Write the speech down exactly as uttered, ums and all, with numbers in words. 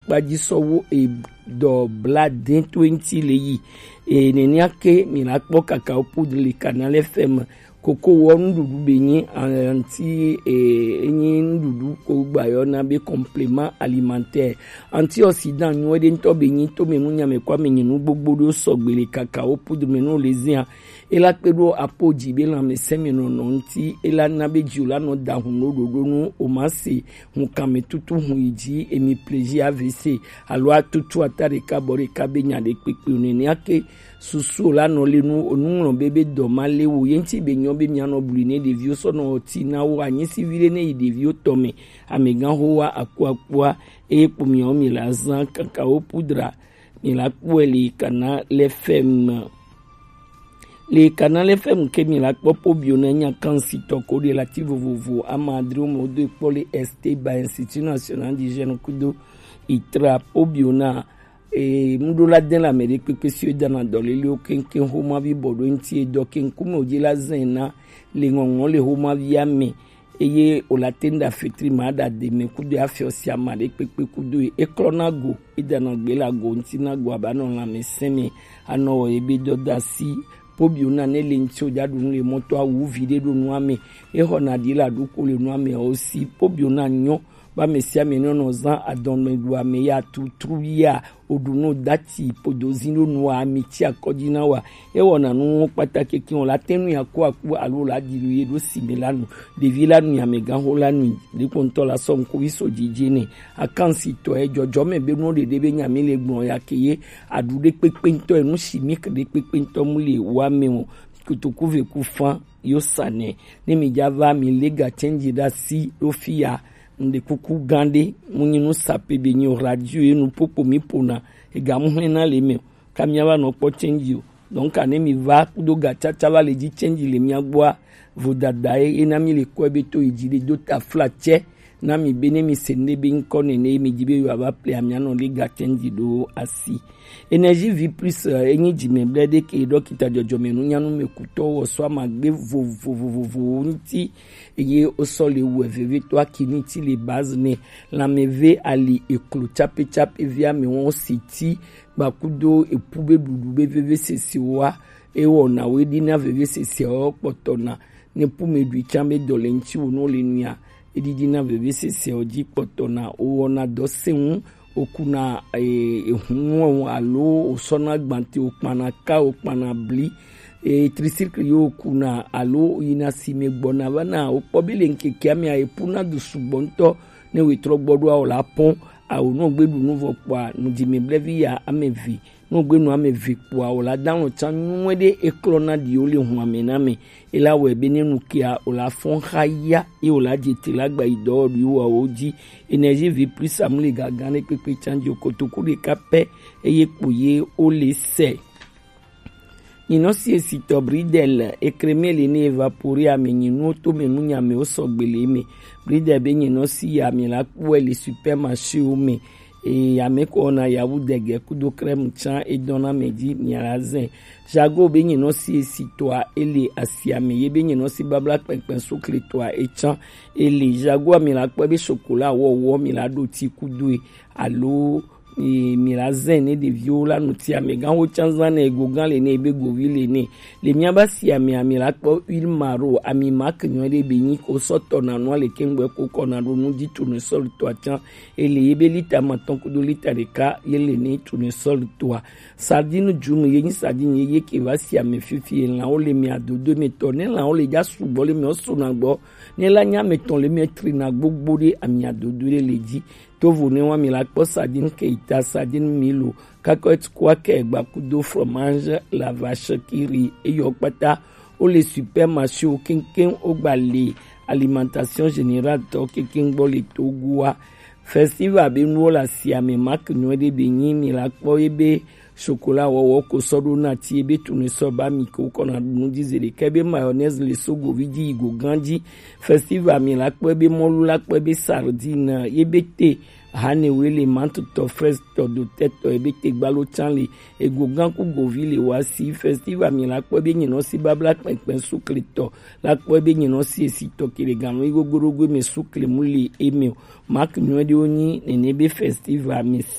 kpaji sɔwo e dɔ bla dɛn to eŋti le yi. E nenia ke mi la kpɔ Kakao Poudre le Canal F M. Koko wɔ nuɖuɖu be nyi anti e enyi nuɖuɖu ko gbayɔ na be complément alimentaire. Antioxydant nyuie ɖe ŋutɔ be nyi to me nu nyame kɔ ame nyi nu gbogbo ɖewo sɔgbe le Kakao Poudre me no le zia. E la kpe ɖo apo dzi be lãmesẽ me nɔnɔ ŋuti, e la na be dzi o la nɔ da hun ɖo ɖoɖo nu o ma se hun kame tutu hun yi dzi emi plaisir A V C alo atutu ata ɖeka bɔ ɖeka be nya ɖe kpekpe o nene ake susu o la nɔ le nu o nu ŋlɔ be be dɔ ma le wo ye ŋuti be nyɔ be mia nɔ blu ne ɖeviwo sɔ nɔ ti na wo anyi si vi ɖe ne yi ɖeviwo tɔ me amegã ho wa aku akua eye kpo miawo mi la zã Kakao Poudre. Mi la kpɔe le Canal F M. Le Canal F M ke mi la kpɔ Pobio na nya kansi tɔ ko ɖe lati vovovo ama adre wo me wo do kpɔ le Esteba Institut National du Jeune kudo itra Pobio na e muɖo la den la me ɖe kpekpe si o dana dɔ lele o kenken homa vi bɔ ɖo ŋti e dɔ kenku me o dzi la zen na le ŋɔŋɔ le homa via me. Eye wòle ate ŋu ɖe afetri ma ɖe ademe kudo afiɔ sia ma ɖe kpekpe kudo ye. Eklɔna go, edana gbe le ago ŋuti na go abe anɔ lãmesẽ me, anɔ wɔ ebe dɔdasi. Pobio na ne le ŋuti o dza ɖu nu le mɔto awu vi ɖe ɖo nua me. Exɔna ɖi le aɖuko le nua me o si. Pobio na nyɔ ba me sia me ne nɔ zã adɔme ɖu ame ya tutru ya. Oɖu nu dati podo zi ɖo nua mi tsi akɔ dzi na wa. Ewɔna nuwo kpata keke o la te nu ya ku aku alo la ɖi ye ɖo si me la nu. Ɖevi la nu amegãxo la nu ɖeko ŋutɔ la sɔ ŋkuvi so dzidzi nɛ. Akansitɔ edzɔdzɔ me be nuwo ɖeɖe be nya mi le gblɔ ya ke ye aɖu ɖe kpekpe ŋutɔ enu si mi ke ɖe kpekpe ŋutɔ mu le wa me o. Kotoku ve ku fan yo sa nɛ ne mi dza va mi le ga tsɛnji ɖe asi ɖo fi ya. Ŋɖe kuku gã ɖe mu nyi nu sape be nyi o radio ye nu popo mi pona ega mu hlɛn na le me o. Ka mia va nɔ kpɔ change o. Donc ane mi va kudo ga tsatsa va le dzi change le mia gbɔa vodada ye ye na mi le kɔe be to yi dzi ɖe do ta fla tsɛ na mi be ne mi se ŋɖe be ŋkɔ nene ye mi dzi be yo ava ple amia nɔ le ga change ɖo asi. Energie Vie Plus enyi dzime ble ɖe ke ɖɔkita dzɔdzɔme nunyanu me kutɔ wɔ sɔ amagbe vovovovovo ŋuti. Eye wosɔ le wɛ vevetɔ akini ti le base ne lãmeve ali eklo tsapetsapevia me wɔn si ti gbakudo epu be ɖuɖu be vevesese wa ewɔna wo eɖina veveseseawo kpɔtɔna ne pu me ɖui tsã be dɔ le ŋti wo no le nia eɖiɖina veveseseawo dzi kpɔtɔna wowɔna dɔ se ŋu wokuna ehun alo wosɔna gbante wokpana ka wokpana bli. Tricycle yi wokuna alo yina si me gbɔna vana wokpɔ be le ŋkekea mea epuna du sugbɔ ŋutɔ ne wetrɔ gbɔ ɖo awo la pɔn awo no gbe ɖu nu vɔ kpɔa nu dzi me blevi ya ame eve no gbe nu ame eve kpɔa o la da ŋlɔ tsa nyuie ɖe eklɔ na ɖi wo le hun ame na me. Ela wɔe be ne nu kea o la fɔn xa ya ye o la dze te la gba yi dɔ ɖu wa wo dzi. Energie Vie Plus amu le gaga ne kpekpe tsa dzi o kotoku ɖeka pɛ eye kpo ye o le sɛ. Nyinɔ si esitɔ Bridel ekreme le ne evapore ame nyinuwo to me nu nyame wo sɔgbe le me. Bridel be nyinɔ si ya mi la kpɔe le supermarché wo me. Eye ame ko wɔna yawu dege kudo krɛmu tsã edɔna me dzi miala zɛ. Jago be nyinɔ si esitɔa ele asia me ye be nyinɔ si babla kpɛnkpɛn sukle tɔa etsã ele jagoa mi la kpɔe be sokola wɔwɔ mi la ɖo ti kudoe alo mi la zɛ ne ɖeviwo la nu ti amegãwo tsã zã ne ego gã le ne ebe govi le ne. Le miaba si ami ami la kpɔ huile maro ami mak nyɔ ɖe be nyi ko sɔ tɔ na nua le kengbe ko kɔ na ɖo nu dzi tu ne sɔli tɔa tsã ele ye be lita matɔn kudo lita ɖeka ye le ne tu ne sɔli tɔa. Sardine dzu me ye nyi sardine ye ye ke va si ame fifi ye lãwo le mia dodo me tɔ ne lãwo le dza sugbɔ le mia suna gbɔ ne la nya me tɔn le mia trina gbogbo ɖe amia dodo ɖe le dzi. Tovo ne wa mi la kpɔ sardine keita sardine milo kakɔt kwa ke gbakudo fromage la vache kiri eyɔ kpata. Wo le supermarché wo keŋkeŋ wo gba le alimentation générale tɔ keŋkeŋ gbɔ le togoa. Festival be nuwo le asia me mak nyuie ɖe be nyi mi la kpɔ ye be chocolat wɔwɔ ko sɔ ɖo na ti ye be tunu sɔ ba mi ke wokɔ na ɖu nu dzi ze ɖeka ye be mayonnaise le so govi dzi yi go gã dzi. Festival mi la kpɔ ye be mɔlu la kpɔ ye be sardine ye be te hanewe le mantutɔ frestɔ dotɛtɔ ye be te gbalo tsã le ego gã ku govi le wa si. Festival mi la kpɔ ye be nyinɔ si babla kpɛnkpɛn sukletɔ la kpɔ ye be nyinɔ si esitɔ ke le ganu yi gogorogo me sukle mu le eme o. Mak nyuie ɖewo nyi nene be festival mi